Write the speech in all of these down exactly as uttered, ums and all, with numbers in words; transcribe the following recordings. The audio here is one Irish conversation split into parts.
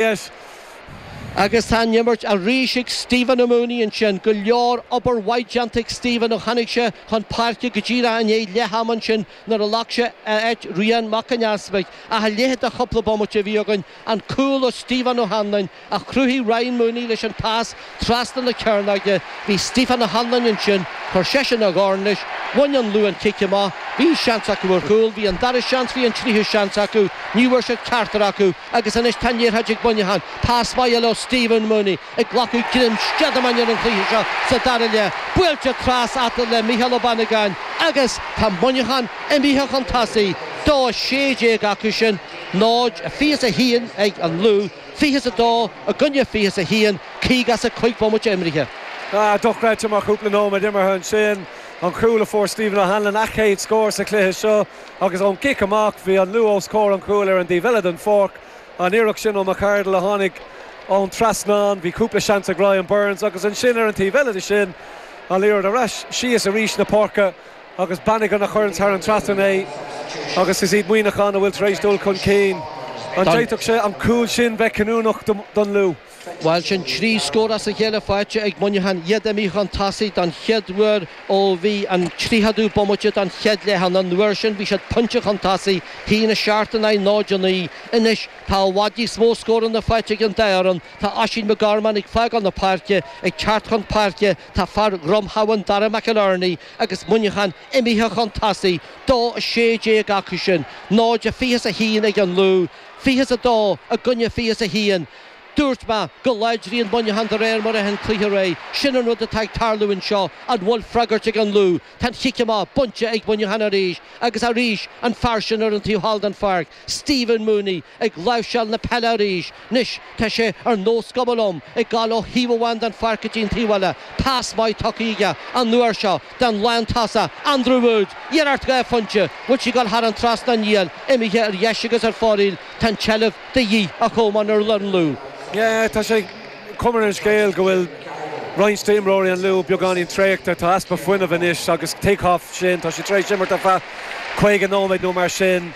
Yes. Agus tá an imirt arís ag Stephen Mooney ansin go leor obair mhaith déanta ag Stephen ó tháinig sé chun páirce go díreach i ndiaidh leath ama ansin nuair a ghlac sé áit Rian Mac an Easmaig ach a leithéid de chúpla bomaite a bhí againn an cúl ó Stephen O'Hanlon a chruthaigh Ryan Mooney leis an pas trasna na cearnóige bhí Stephen O'Hanlon ansin chuir seisean a dhorn leis bhain an Lú an cic amach bhí seans acu ar chúl bhí an dara seans bhí an tríú seans acu ní bhfuair siad ceachtar acu agus anois tá an liathróid ag Muineachán pas maith le Stephen Mooney ag glacadh greim steideamáin ar an chluiche seo sa dara leath buailte trasna le Micheál Ó Bannagáin agus tá Muineachán imithe chun tosaigh dó sé déag acu sin náid fiche a haon ag an Lú fiche a dó i gcoinne fiche a haon caoga is a cúig bomaite imeartha. Ah, dochreidte mar chúpla nóiméad imeartha ansin an cúl a fuair Stephen O'Hanlon a chéad scór sa chluiche seo agus ón gcic amach bhí an Lú os comhair an chúil ar an dtaobh eile den pháirc an iarracht sin ó McCardle a tháinig ón trasnán bhí cúpla seans ag Ryan Burns agus ansin ar an taobh eile de sin an liathróid ar ais síos arís na páirce agus Bannigan a chuireann thar an trasnán é agus is iad Muineachán a bhfuil tar éis dul chun cinn. An d'fhéadfadh sé an cúl sin bheith cinniúnach don Lú. Bhuel sin trí scór as a chéile faighte ag Muineachán iad imithe chun tosaigh don chéad uair ó bhí an tríochadú bomaite don chéad leath an uair sin bhí siad pointe chun tosaigh haon a seacht in aghaidh náid a naoi anois tá i bhfad níos mó scóranna faighte ag an dá fhoireann tá Oisín McGorman ag fágáil na páirce ag teacht chun páirce tá fear Dhrom Habhann Dara McInerney agus Muineachán imithe chun tosaigh dó a sé déag acu sin náid a fiche a haon ag an Lú fiche a dó i gcoinne fiche a haon Dúirt mé go láidríonn Muineachán de réir mar a théann an cluiche ar aghaidh sin an rud atá ag tarlú anseo an bhfuil freagairt ag an Lú Tá an cic amach bainte ag Muineachán arís agus arís an fear sin ar an taobh thall den pháirc Stephen Mooney ag láimhseáil na peile arís anois tá sé ar nós cuma liom ag gabháil ó thaobh amháin den pháirc go dtí an taobh eile pas maith tugtha aige an uair seo don lántosach Andrew Wood iarracht dhá phointe bhfuil sí ag gabháil thar an trasnán níl imithe ar dheis agus ar fóraoil tá an tseilbh de dhíth a chomáin ar an Lú. Yeah, tá sé cuma ar an scéal go bhfuil roinnt d'imreoirí an Lú beagáinín traochta tá easpa fuinnimh anois agus tuigfeá sin tá sé tar éis imirt ar feadh caoga nóiméad nó mar sin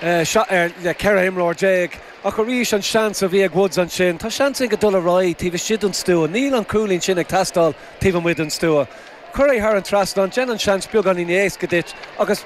ar le ceithre imreoir déag. Ach arís an seans a bhí ag Woods ansin, Tá seans go dul ar aghaidh taobh istigh den stua, níl an cúilín sin ag teastáil taobh amuigh den stua. Cuir é thar an trasnán déan an seans beagáinín éasca duit agus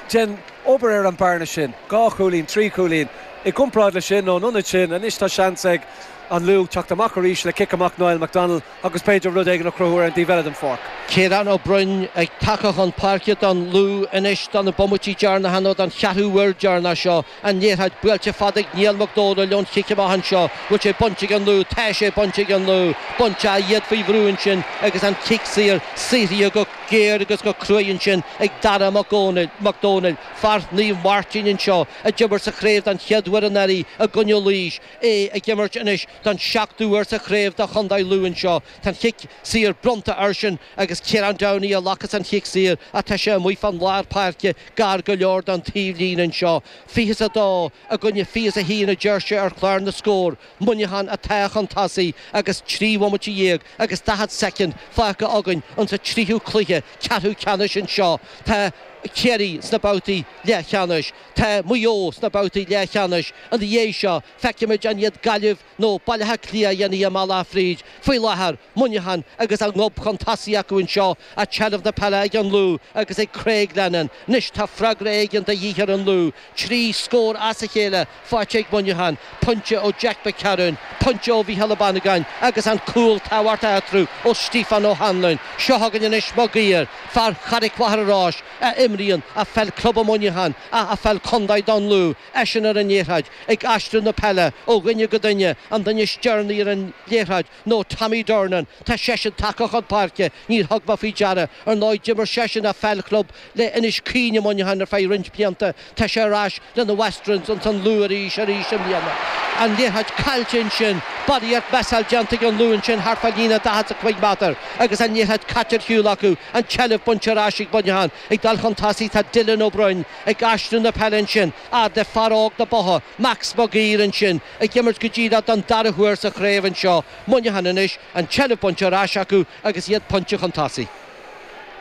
déan obair ar an bearna sin, dhá chúilín, trí chúilín. I gcomparáid le sin nó an ionad sin, anois tá seans ag an Lú teacht amach arís le cic amach Niall McDonald agus b'fhéidir rud éigin a chruthú ar an dtaobh eile den pháirc. Ciarán Ó Broin ag teacht chun páirce don Lú anois do na bomaití deireanacha nó don cheathrú uair deireanach seo an liathróid buailte fada ag Niall Mac Dónaill ón chic amach anseo bhfuil sé bainte ag an Lú tá sé bainte ag an Lú bainte iad faoi bhrú ansin agus an cic saor saothraithe go géar agus go cruaidh ansin ag Dara Mac Dónaill fear Naomh Máirtín anseo a d'imir sa chraobh don chéad uair anuraidh i gcoinne Laois é ag imirt anois don seachtú huair sa chraobh do Chontae Lú anseo Tá an chic saor bronnta airsean agus Ciarán Downey a ghlacas an chic saor atá sé amuigh fan lár páirce gar go leor don taobhlíne anseo. Fiche a dó i gcoinne fiche a haon a deir sé ar chlár na scór, Muineachán atá chun tosaigh agus trí bhomaite dhéag agus daichead soicind fágtha againn insa tríú cluiche ceathrú ceannais anseo. Tá Ciarraí sna babhtaí leathcheannais, tá Maigh Eo sna babhtaí leathcheannais ina dhiaidh seo feicfimid an iad Gaillimh nó Baile Átha Cliath a dhéanfaidh a mbealach fríd. Faoi láthair, Muineachán agus a ngob chun tosaigh acu anseo ach seilbh na peile ag an Lú agus ag Craig Lennon. Anois tá freagra éigin de dhíth ar an Lú. Trí scór as a chéile faighte ag Muineachán, pointe ó Jack McCarron, pointe ó Mhícheál Ó Bannagáin agus an cúl tábhachtach eatarthu ó Stephen O'Hanlon. Seo chugainn anois Mag Uidhir, fear Charraig Mhachaire Rois a imríonn a pheil club Muineachán a a pheil contae don Lú, eisean ar an liathróid ag aistriú na peile ó dhuine go duine an duine is deireanaí ar an liathróid nó Tommy Durnan Tá seisean tagtha chun páirce níor thug mé faoi deara ar ndóigh d'imir seisean a pheil club le Inis Caoin i Muineachán ar feadh roinnt blianta Tá sé ar ais lena Westerns an Lú arís arís i mbliana. An liathróid caillte ansin barraíocht messáil déanta ag an Lú ansin thart fá líne daichead a cúig méadar agus an liathróid caite ar shiúl acu an tseilbh bainte ar ais ag Muineachán ag dul chun tosaigh tá Dylan Ó Broin ag aistriú na peile ansin fhad le fear óg na Botha Max Mag Uidhir ansin ag imirt go díreach don dara huair sa chraobh anseo Muineachán anois an tseilbh bainte ar ais acu agus iad pointe chun tosaigh.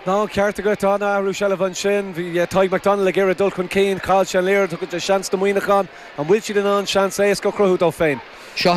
Ná ceart agat an athrú seilbhe ansin bhí Tadhg McDonald ag iarraidh dul chun cinn chaill sé an liathróid tugann sé seans do Mhuineachán an bhfuil siad in ann seans éasca a chruthú dóibh féin. Seo